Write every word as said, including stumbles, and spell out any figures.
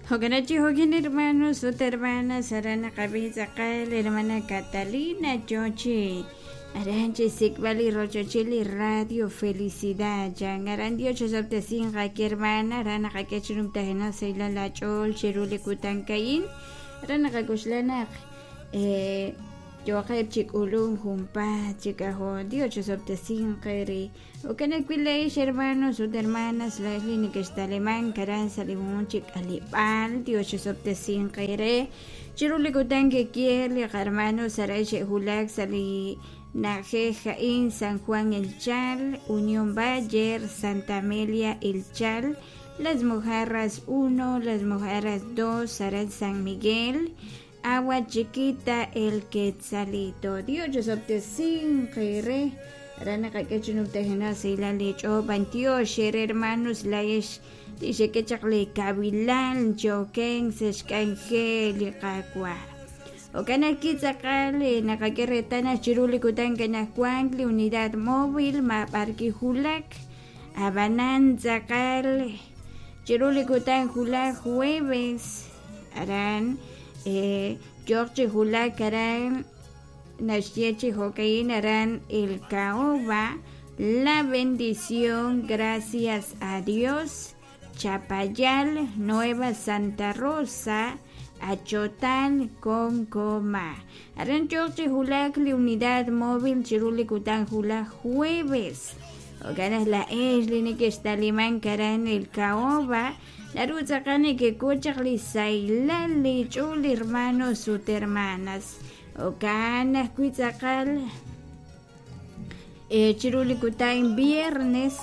Jo'kanachi jo'kin hermanos ut hermanas aran naqab'i tz'aqal hermana Catalina yochi aran chi xsik'b'al li rochochil li radio Felicidad chan aran Dios chosob'tesinq aki hermana aran naqak'e chi numtajenaq sahilal aach'ool chiru li kutan ka'in aran naqak'oxla naq eh, yoqeb' chi k'ulunk junpaat chi k'ajol Dios chosob'tesinq re jo'kan ajwi' la'ex hermanos ut hermanas la'ex li nekextalimank aran sa' li jun chi k'aleb'aal Dios chosob'tesinq eere chiru li kutan kekier li qarmanos aran xe'wulak sa' li na'ajej a'in San Juan El Chal, Unión Bayer, Santa Amelia El Chal, Las Mojarras uno, Las Mojarras dos, aran San Miguel, Agua Chiquita, El Quetzalito. Dios chosob'tesinq eere aran naqak'e chi numtajenaq sahilal li ch'ool b'antiox eere hermanos la'ex li xek'e chaq li kawilan choken sa' xk'anjel li Qaawa'. Jo'kan ajwi' tz'aqal naqak'e reetal naq chiru li kutan kanajwank li unidad móvil mab'ar kijulak ab'anan tz'aqal chiru li kutan julak jueves aran eh, yoq chi julak aran naxye chi jo'ka'in aran El Caoba La Bendición gracias a Dios Chapayal Nueva Santa Rosa Achotal Concoma aran yoq chi julak li unidad móvil chiru li kutan julak jueves jo'kan naq la'ex li nekextalimank aran El Caoba naru tz'aqal nekek'ul chaq li sahilal li ch'uul hermanos ut hermanas jo'kan ajwi' tz'aqal eh, chiru li kutan viernes